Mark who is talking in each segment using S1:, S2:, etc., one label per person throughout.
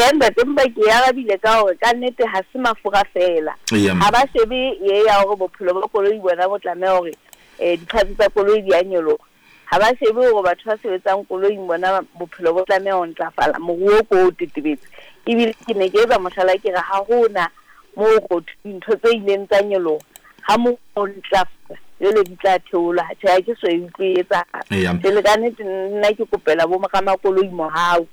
S1: Tjhe ntate, empa ke e arabile ka hore ka nnete ha se mafura feela.
S2: Eya
S1: Ha
S2: mme.
S1: ba shebe ye ya hore bophelo ba koloi bona bo tlameha hore di-parts tsa koloi di a nyoloha. Ha ba shebe hore batho ba sebetsang koloing bona bophelo bo tlameha ho ntlafala, moruo ko o tetebetse. Ebile ke ne ke etsa mohlala ke re ha hona moo ho thwe dintho tse ileng tsa nyoloha ha moruo o ntlafala jwale di tla theolwa. Tjhe, ha ke so e utlwe e etsahala.
S2: Eya.
S1: Jwale ka nnete nna ke kopela bo ramakoloi mohau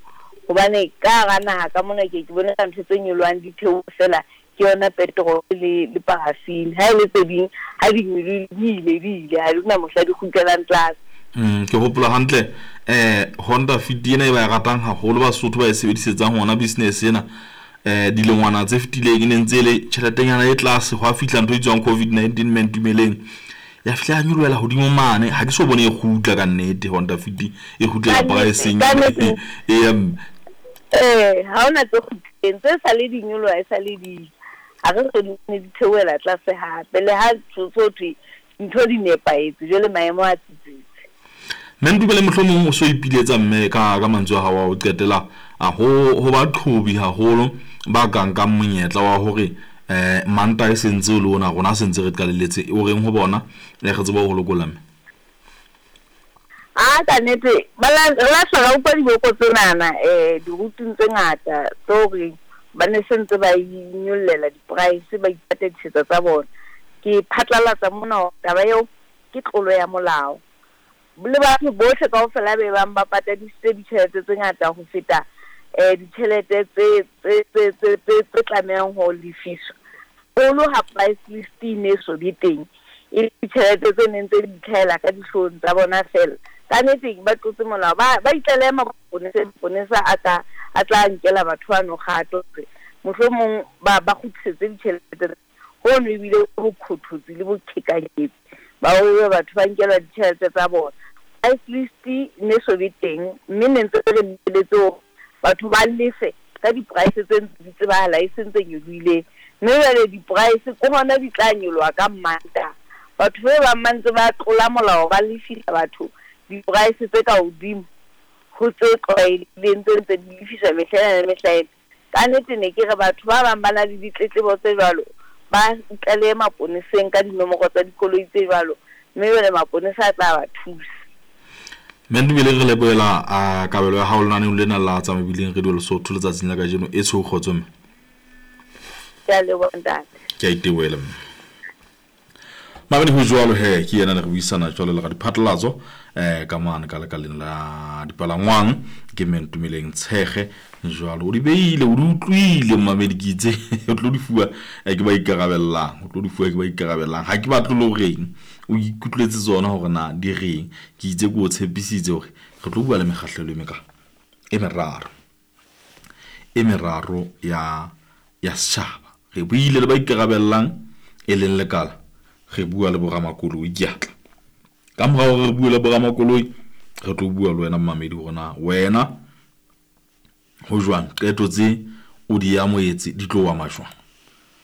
S1: hobane ka hara naha ka mona ke ke bone ka ntho tse nyolohang di theoha feela ke yona petrol le paraffin. Ha e le tse ding ha di nyolohile di ile di ile ha di na mohla di kgutlelang tlase.
S2: Ke hopola hantle Honda Fit ena e ba e ratang haholo Basotho ba e sebedisetsang hona business ena. Dilengwana tse fetileng e ne ntse e le tjheletenyana e tlase, hwa fihla ntho e bitswang COVID-19 mme Ntumeleng. Ya fihla ya nyolohela hodimo mane, ha ke so bone e kgutla ka nnete Honda Fit e kgutlela
S1: Ka nnete,
S2: price-eng
S1: ka nnete.
S2: eya mme.
S1: Ee, ha hona tse kgutlileng, tse sale di nyoloha e sale di ha re so di bone di theohela tlase hape. Le ha so thwe dintho di nepahetse, jwale maemo a tsitsitse.
S2: Mme Ntumeleng mohlomong o so ipiletsa mme ka mantswe a hao a ho qetela a ho baqhobi haholo ba ka nkang monyetla wa hore Mantaha e sentse o le ona rona sentse re qalelletse o reng ho bona re tsebe ho lokolla mme.
S1: A ka nnete ba la re la hla ra utlwa diboko tsenana dirouting tse ngata tse hore ba ne se ntse ba inyollela di-price ba ipatadisetsa tsa bona. Ke phatlalatsa mona hore taba eo ke tlolo ya molao. Le batho bohle kaofela be bang ba patadisitse ditjhelete tse ngata ho feta ditjhelete tse tlamehang ho lefiswa. Haholo ha price list e ne so be teng, e le ditjhelete tse neng tse di itlhahela ka dihloohong tsa bona feela. Ka nnete ba tlotse molao, ba itlalehe maponeseng, maponesa a tla a tla nkela batho bano kgato hore mohlomong ba kgutlisetse ditjhelete. Hono ebile bokhothotsi le boqhekanyetsi ba hore batho ba nkelwa ditjhelete tsa bona. Price list ne so be teng, mme ne ntse re lebeletse hore batho ba lefe ka di-price tse ntse di tsebahala e seng tse nyolohileng. Mme jwale di-price ke hona di tla nyoloha ka Mantaha. Batho be bang ba ntse ba tlola molao ba lefisa batho di-price tse ka hodimo ho tse tlwaelehileng tse ntse di lefiswa mehla ena le mehla ena. Ka nnete ne ke re batho ba bang ba na le ditletlebo tse jwalo, ba itlalehe maponeseng ka dinomoro tsa dikoloi tse jwalo, mme jwale maponesa a tla ba thusa.
S2: Mme Ntumeleng re lebohela kabelo ya hao lenaneong lena la tsa mebileng Radio Lesotho letsatsing la kajeno e tsho kgotso mme.
S1: Ke a leboha ntate.
S2: Ke a itebohela mme. Mabedi ho jwalo he ke yena ne re buisana jwalo le radiphatlalatso ka mane ka lekaleng la dipalangwang ke mme Ntumeleng Tshekge jwalo o di beile o di utlwile mmamedi ke itse o tlo di fuwa ke ba ikarabellang o tlo di fuwa ke ba ikarabellang ha ke batle le horeng o ikutlwetse tsona hore na di reng ke itse ke o tshepisitse hore re tlo bua le mekgahlelo e meka e meraro ya setjhaba re buile le ba ikarabellang e leng lekala re bua le boramakoloi ke atla ka mora hore re bue le boramakoloi re tlo bua le wena mmamedi hore na wena ho jwang qeto tse o di amohetse di tlo ama jwang.